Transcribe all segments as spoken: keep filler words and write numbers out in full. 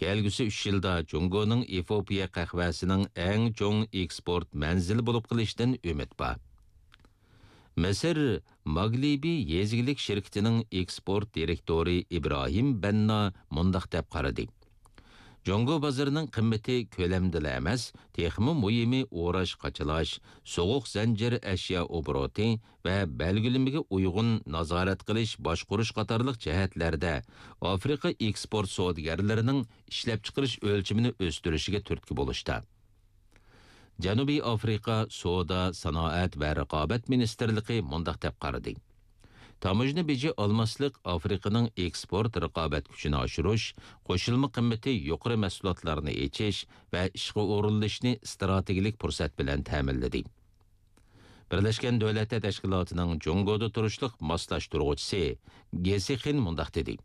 كەلگۈسى ئۈچ يىلدا جۇڭگونىڭ ئېفىئوپىيە قەھۋەسىنىڭ ئەڭ چوڭ ئېكسپورت مەنزىلى بولۇپ قېلىشىدىن ئۈمىد بار. مىسىر ماگلىبى يېزا ئىگىلىك شىركىتىنىڭ ئېكسپورت دىرېكتورى ئىبراھىم بەننا مۇنداق دەپ قارىدى: جۇڭگو بازىرىنىڭ قىممىتى كۆلەمدىلا ئەمەس، تېخىمۇ مۇھىمى ئوراش-قاچىلاش، سوغۇق زەنجىر ئەشيا ئوبوروتى ۋە بەلگىلىمىگە ئۇيغۇن نازارەت قىلىش، باشقۇرۇش قاتارلىق جەھەتلەردە ئافرىقا ئېكسپورت سودىگەرلىرىنىڭ ئىشلەپچىقىرىش ئۆلچىمىنى ئۆستۈرۈشىگە تۈرتكە بولۇشتا. جەنۇبىي ئافرىقا سودا، سانائەت ۋە رىقابەت مىنىستىرلىقى مۇنداق دەپ قارىدى: تاموژنا بېجى ئالماسلىق ئافرىقىنىڭ ئېكسپورت رىقابەت كۈچىنى ئاشۇرۇش، قوشۇلما قىممىتى يۇقىرى مەھسۇلاتلارنى ئېچىش ۋە ئىشقا ئورۇنلىشىشنى ئىستراتېگىيەلىك پۇرسەت بىلەن تەمىنلىدى. بىرلەشكەن دۆلەتلەر تەشكىلاتىنىڭ جۇڭگودا تۇرۇشلۇق ماسلاشتۇرغۇچىسى گېسىخىن مۇنداق دېدى: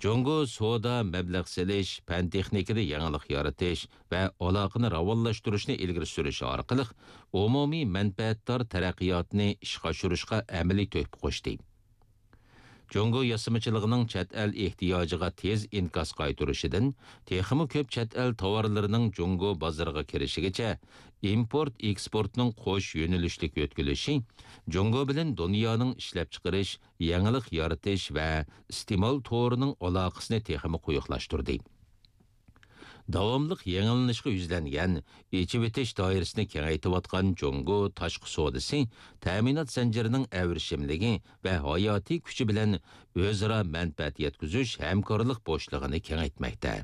جۇڭگو سودا، مەبلەغ سېلىش، پەن-تېخنىكىدا يېڭىلىق يارىتىش ۋە ئالاقىنى راۋانلاشتۇرۇشنى ئىلگىرى سۈرۈش ئارقىلىق ئومۇمىي مەنپەئەتدار تەرەققىياتنى ئىشقا ئاشۇرۇشقا ئەمەلىي تۆھپە قوشتى. جۇڭگو ياسىمىچىلىقىنىڭ چەت ئەل ئېھتىياجىغا تېز ئىنكاس قايتۇرۇشىدىن تېخىمۇ كۆپ چەت ئەل تاۋارلىرىنىڭ جۇڭگو بازىرىغا كىرىشىگىچە، ئىمپورت ئېكسپورتنىڭ قوش يۆنىلىشلىك يۆتكىلىشى جۇڭگو بىلەن دۇنيانىڭ ئىشلەپچىقىرىش، يېڭىلىق يارىتىش ۋە ئىستېمال تورىنىڭ ئالاقىسىنى تېخىمۇ قويۇقلاشتۇردى. داۋاملىق يېڭىلىنىشقا يۈزلەنگەن، ئېچىۋېتىش دائىرىسىنى كېڭەيتىۋاتقان جۇڭگو تاشقى سودىسى تەمىنات زەنجىرىنىڭ ئەۋرىشىملىكى ۋە ھاياتىي كۈچى بىلەن ئۆزئارا مەنپەئەت يەتكۈزۈش ھەمكارلىق بوشلۇقىنى كېڭەيتمەكتە.